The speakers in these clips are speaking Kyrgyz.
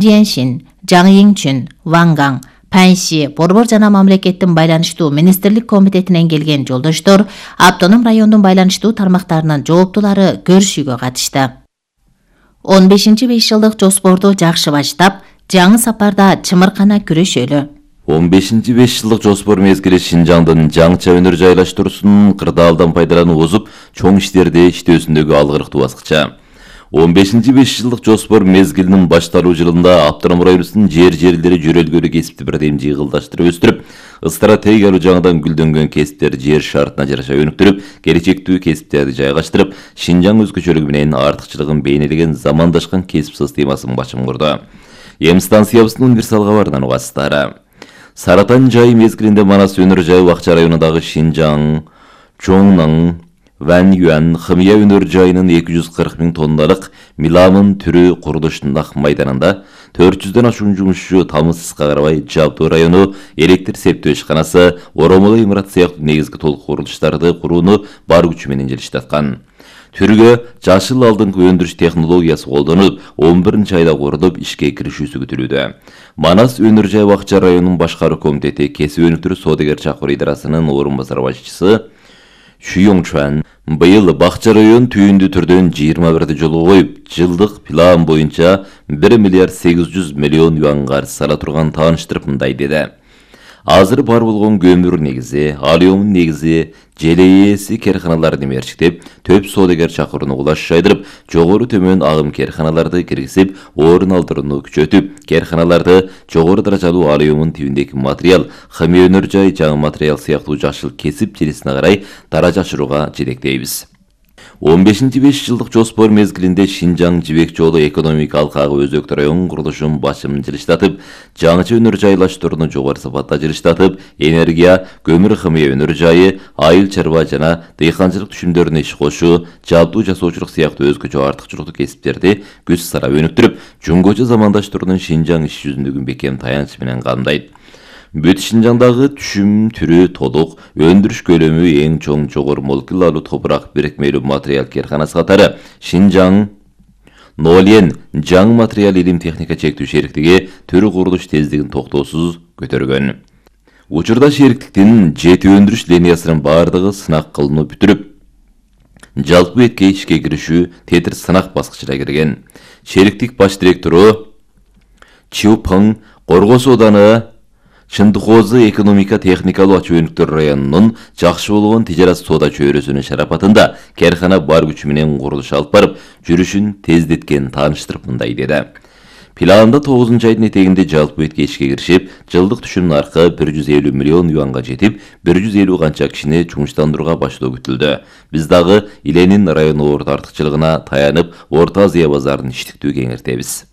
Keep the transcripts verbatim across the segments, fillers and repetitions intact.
Jianxin, Zhang Yingchun, Wang Gang, Панши, Борбор жана мамлекеттин байланыштуу министрлик комитетинен келген жолдоштор автоном райондун байланыштуу тармактарынын жооптулары көрүшүүгө катышты. он бешинчи беш жылдык жоспорду жакшы баштап, жаңы сапарда чымыркана күрөшөлү. он бешинчи беш жылдык жоспор мезгили Шинжаңдын жаңыча өнөр жайлаштыруусунун кырдаалдан пайдалануу озуп, чоң иштерди иштөөсүндөгү алгырыктуу баскыча. он бешинчи беш жылдык жоспор мезгилинин башталуу жылында автоном районубуздун жер жерлери жөрөлгөлү кесипти бирдем жыйгылдаштырып өстүрүп, стратегиялуу жаңыдан гүлдөнгөн кесиптер жер шартына жараша өнүктүрүп, келечектүү кесиптерди жайгаштырып, Шинжаң өзгөчөлүгү менен артыкчылыгын бейнелеген замандашкан кесип системасын башым курду. Эм станциябыздын универсал кабарынан угасыздар. Саратан жайы мезгилинде Манас өнөр жайы Акча районундагы Шинжаң, Чоңнан, Ван-Юан хымия өнөр жайынын эки жүз кырк миң тонналык миламын түрү курулушунун ак майданында төрт жүздөн ашуун жумушчу тамызсызга карабай Жабдуу району электр септөө ишканасы, оромоло имарат сыяктуу негизги толук курулуштарды курууну бар күчү менен желиштаткан. Түргө жашыл алдыңкы өндүрүш технологиясы колдонулуп, он биринчи айда курулуп, ишке киришүүсү күтүлүүдө. Манас өнөр жай Акча районунун башкаруу комитети кесип өнүктүрүү соодагер чакыруу идарасынын орун басар башчысы Шүйоңчуан быйыл Бакча район түйүндүү түрдөн жыйырма бирди жолго коюп, жылдык план боюнча бир миллиард сегиз жүз миллион юанга сала турган тааныштырып мындай деди. Азыр бар болгон көмүр негизи, алюмин негизи, желейеси керканаларды мерчиктеп, төп соодагер чакырууну кулаш жайдырып, жогору төмөн агым керканаларды киргизип, орун алдырууну күчөтүп, керканаларды жогору даражалуу алюмин тибиндеги материал, хымия өнөр жай жаңы материал сыяктуу жашыл кесип желесине карай даража ашырууга жетектейбиз. он бешинчи беш жылдык жоспор мезгилинде Шинжаң жибек жолу экономика алкагы өзөктүү район курулушун башым жылыштатып, жаңыча өнөр жайлаштырууну жогору сапатта жылыштатып, энергия, көмүр хымия өнөр жайы, айыл чарба жана дыйканчылык түшүмдөрүнө иш кошуу, жабдуу жасоочулук сыяктуу өзгөчө артыкчылыктуу кесиптерди көз сарап өнүктүрүп, жөнгөчө замандаштырууну Шинжаң иш жүзүндөгү бекем таянч менен камдайт. Бүт Шинжаңдагы түшүм түрү толук, өндүрүш көлөмү эң чоң жогору молекулалуу топурак бирикмелүү материал керканасы катары Шинжаң Нолен жаңы материал илим техника чектүү шериктиги түрү курулуш тездигин токтоосуз көтөргөн. Учурда шериктиктин жети өндүрүш линиясынын бардыгы сынак кылынып бүтүрүп, жалпы этке ишке киришүү тетир сынак баскычына кирген. Шериктик баш директору Чиупың Коргоо сооданы Чындыкозы экономика техникалуу ачуу өнүктөр районунун жакшы болгон тижарат соода чөйрөсүнүн шарапатында керкана бар күчү менен курулуш алып барып, жүрүшүн тездеткен тааныштырып мындай деди. Планда тогузунчу айдын этегинде жалпы этке ишке киришип, жылдык түшүм наркы бир жүз элүү миллион юанга жетип, бир жүз элүү канча кишини жумуштандырууга баштоо күтүлдү. Биз дагы Иленин району орто артыкчылыгына таянып, Орто Азия базарын иштиктүү кеңейтебиз.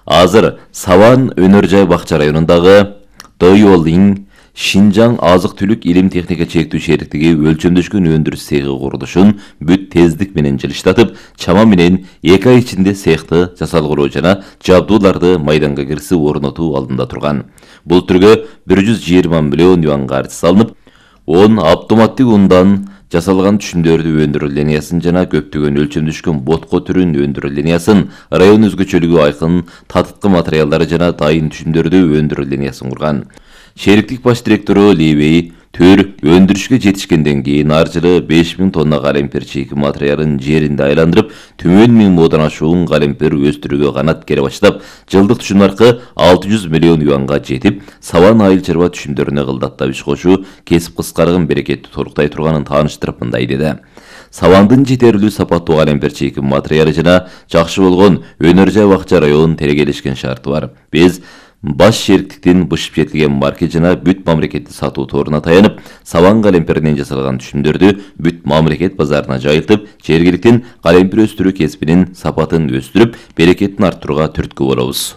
Азыр Саван өнөр жай Бакча районундагы Дойолин Шинжаң азык-түлүк илим техника чектүү шериктиги өлчөмдөшкөн өндүрүш цехи курулушун бүт тездик менен жылыштатып, чама менен эки ай ичинде цехты жасалгыроо жана жабдууларды майданга киргизип орнотуу алдында турган. Бул түргө бир жүз жыйырма миллион юан каржы салынып, он автоматтык ундан жасалган түшүмдөрдү өндүрүү линиясын жана көптөгөн өлчөмдөшкөн ботко түрүн өндүрүү линиясын, район өзгөчөлүгү айкын татыткы материалдары жана дайын түшүмдөрдү өндүрүү линиясын курган. Шериктик баш директору Ливей төр өндүрүшкө жетишкенден кийин ар жылы беш миң тонна калемпир чийки материалын жеринде айландырып, түмөн миң модон ашуун калемпир өстүрүүгө канат кере баштап, жылдык түшүм наркы алты жүз миллион юанга жетип, Саван айыл чарба түшүмдөрүнө кылдаттап иш кошуу кесип кыскарган берекетти толуктай турганын тааныштырып мындай деди. Савандын жетерлүү сапаттуу калемпир чийки материалы жана жакшы болгон өнөр жай Акча районунун тергелешкен шарты бар. Биз баш шериктиктин бышып жетилген марке жана бүт мамлекеттик сатуу торуна таянып, Саван калемпиринен жасалган түшүмдөрдү бүт мамлекет базарына жайылтып, жергиликтин калемпир өстүрүү кесибинин сапатын өстүрүп, берекетин арттырууга түрткү болобуз.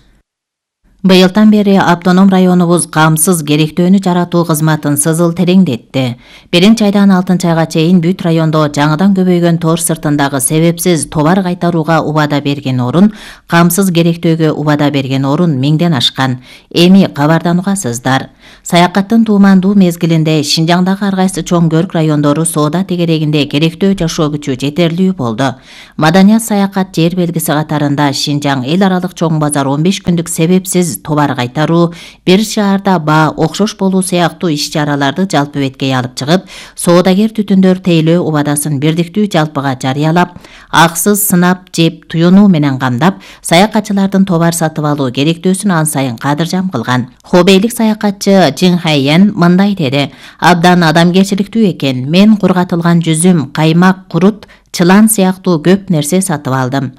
Быйылдан бери автоном районубуз камсыз керектөөнү жаратуу кызматын сызыл тереңдетти. Биринчи айдан алтынчы айга чейин бүт райондо жаңыдан көбөйгөн тор сыртындагы себепсиз товар кайтарууга убада берген орун, камсыз керектөөгө убада берген орун миңден ашкан. Эми кабарданугасыздар. Саякаттын туумандуу мезгилинде Шинжаңдагы ар кайсы чоң көрк райондору соода тегерегинде керектөө жашоо күчү жетерлүү болду. Маданият саякат жер белгиси катарында Шинжаң эл аралык чоң базар он беш күндүк себепсиз товар кайтаруу, бир шаарда баа окшош болуу сыяктуу иш-чараларды жалпы беткей алып чыгып, соодагер түтүндөр тейлөө убадасын бирдиктүү жалпыга жарыялап, аксыз сынап, жеп, туюнуу менен камдап, саякатчылардын товар сатып алуу керектөөсүн ан сайын кадыржам кылган. Хобейлик саякатчы Жин Хайен мындай деди: "Абдан адамгерчиликтүү экен. Мен кургатылган жүзүм, каймак, курут, чылан сыяктуу көп нерсе сатып алдым."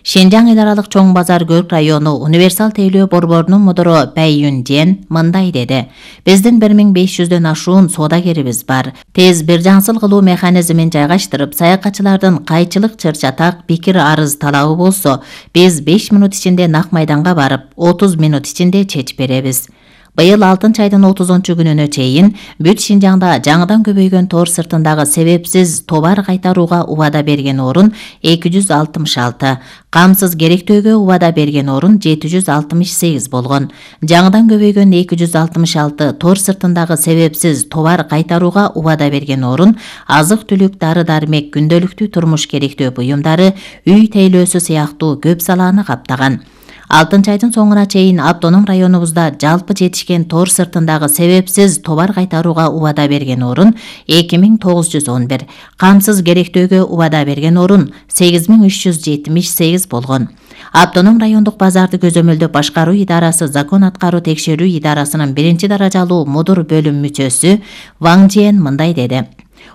Шинжаң эл аралык чоң базар көрк району универсал тейлөө борборунун мудуру Бай Юн Жен мындай деди: "Биздин бир миң беш жүздөн ашуун соодагерибиз бар. Тез бир жаңсыл кылуу механизмин жайгаштырып, саякатчылардын кайчылык чыр-чатак, пикир, арыз талабы болсо, биз беш мүнөт ичинде нак майданга барып, отуз мүнөт ичинде чечип беребиз." Быйыл алтынчы айдын отузунчу күнүнө чейин бүт Шинжаңда жаңыдан көбөйгөн тор сыртындагы себепсиз товар кайтарууга убада берген орун эки жүз алтымыш алты, камсыз керектөөгө убада берген орун жети жүз алтымыш сегиз болгон. Жаңыдан көбөйгөн эки жүз алтымыш алты тор сыртындагы себепсиз товар кайтарууга убада берген орун азык-түлүк, дары-дармек, күндөлүктүү турмуш керектөө буюмдары, үй тейлөөсү сыяктуу көп салааны каптаган. алтынчы айдын соңуна чейин автоном районубузда жалпы жетишкен тор сыртындагы себепсиз товар кайтарууга убада берген орун эки миң тогуз жүз он бир, камсыз керектөөгө убада берген орун сегиз миң үч жүз жетимиш сегиз болгон. Автоном райондук базарды көзөмөлдөп башкаруу идарасы закон аткаруу текшерүү идарасынын биринчи даражалуу мудур бөлүм мүчөсү Ваң Жиен мындай деди: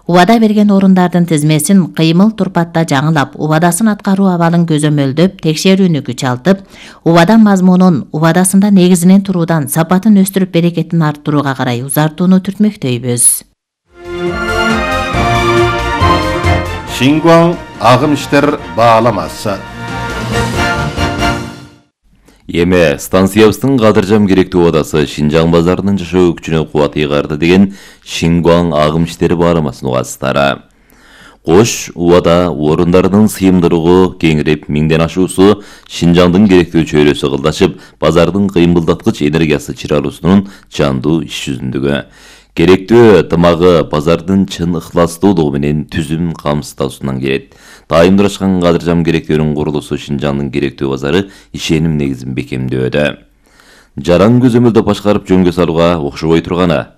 "Убада берген орундардын тизмесин кыймыл турпатта жаңылап, убадасын аткаруу абалын көзөмөлдөп, текшерүүнү күчалтып, убада мазмунун, убадасында негизинен туруудан сапатын өстүрүп, берекетин арттырууга карай узартууну түртмөктөйбүз." Шингуаң агым иштер бааламасы. Эме станциябыздын кадыржам керектүү убадасы Шинжаң базарынын жашоо күчүнө кубат ыйгарды деген Шингуаң агым иштери бааламасын угасыздар. Кош убада орундарынын сыйымдуулугу кеңирип, миңден ашуусу Шинжаңдын керектүү чөйрөсү кылдашып, базардын кыймылдаткыч энергиясы чыралуусунун жандуу иш жүзүндүгү. Керектүү тымагы базардын чын ыхластуулугу менен түзүм камсыздоосунан келет. Дайымдашкан кадыржам керектөөнүн курулуусу Шинжаңдын керектүү базары ишеним негизин бекемдөөдө. Жаран көзөмөлдө башкарып жөнгө салууга окшобой турганы.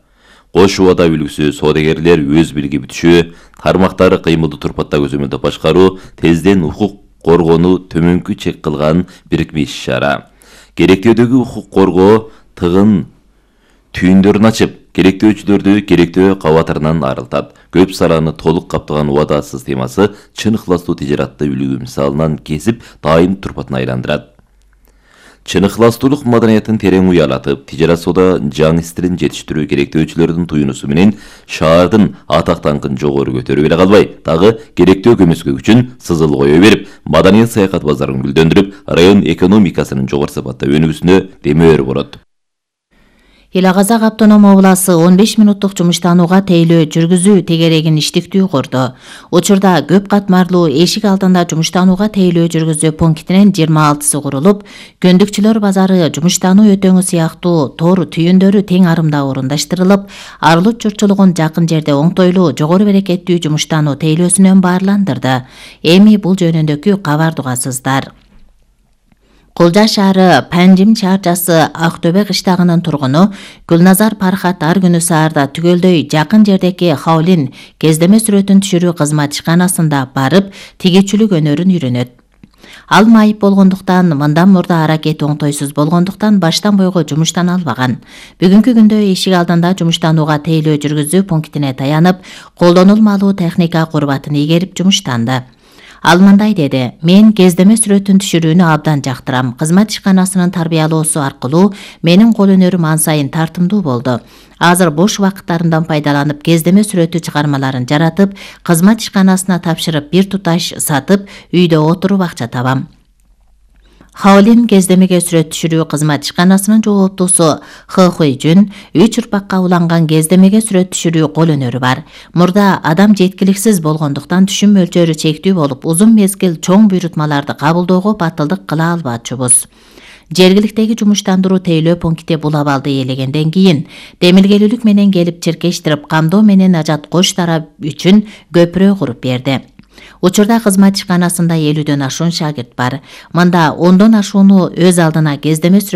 Кош убада үлгүсү соодагерлер өз билги бүтүшү, тармактары кыймылды турпатта көзөмөлдө башкаруу, тезден укук коргоону төмөнкү чек кылган бирикме иш-чара. Керектөөдөгү укук коргоо тыгын түйүндөрүн ачып, керектөөчүлөрдү керектөө кабатарынан арылтат. Көп саланы толук каптаган убада системасы чын ыхластуу тижаратты үлгү мисалынан кесип, дайым турпатын айландырат. Чын ыхластуулук маданиятын терең уялатып, тижарат соода жаңы истерин жетиштирүү керектөөчүлөрдүн туюнусу менен шаардын атак даңкын жогору көтөрүп эле калбай, дагы керектөө көмөскө күчүн сызыл кое берип, маданият саякат базарын гүлдөндүрүп, район экономикасынын жогору сапатта өнүгүүсүнө демөө болот. Эл Казак автоном обласы он беш мүнөттүк жумуштанууга тейлөө жүргүзүү тегерегин иштиктүү курду. Учурда көп катмарлуу эшик алдында жумуштанууга тейлөө жүргүзүү пунктинин жыйырма алтысы курулуп, көндүкчүлөр базары, жумуштануу өтөңү сыяктуу тор түйүндөрү тең арымда орундаштырылып, арылык журтчулугун жакын жерде оңтойлуу, жогору берекеттүү жумуштануу тейлөөсүнөн баарландырды. Эми бул жөнүндөгү кабарды угасыздар. Кулжа шаары Панжим чарчасы Актөбө кыштагынын тургуну Гүлназар Пархат ар күнү саарда түгөлдөй жакын жердеки Хаулин кездеме сүрөтүн түшүрүү кызматчыканасында барып, тигичүлүк өнөрүн үйрөнөт. Ал майып болгондуктан, мындан мурда аракети оңтойсуз болгондуктан баштан бойго жумуштана албаган. Бүгүнкү күндө эшик алдында жумуштанууга тейлөө жүргүзүү пунктине таянып, колдонулмалуу техника курбатын ийгерип жумуштанды. Ал мындай деди: "Мен кездеме сүрөтүн түшүрүүнү абдан жактырам. Кызмат ишканасынын тарбиялоосу аркылуу менин кол өнөрүм ан сайын тартымдуу болду. Азыр бош убакыттарымдан пайдаланып, кездеме сүрөтү чыгармаларын жаратып, кызмат ишканасына тапшырып, бир туташ сатып, үйдө отуруп акча табам. Хаолин кездемеге сүрөт түшүрүү кызмат ишканасынын жооптуусу Хы Хуйжун үч урпакка уланган кездемеге сүрөт түшүрүү кол өнөрү бар. Мурда адам жеткиликсиз болгондуктан түшүм мөлчөрү чектүү болуп, узун мезгил чоң буйрутмаларды кабылдоого батылдык кыла албачубуз. Жергиликтеги жумуштандыруу тейлөө пункти бул абалды ээлегенден кийин демилгелүүлүк менен келип чиркештирип, камдоо менен ажат кош тарап үчүн көпүрө куруп берди. Учурда кызмат ишканасында элүүдөн ашуун шагирт бар. Мында ондон ашууну өз алдына кездеме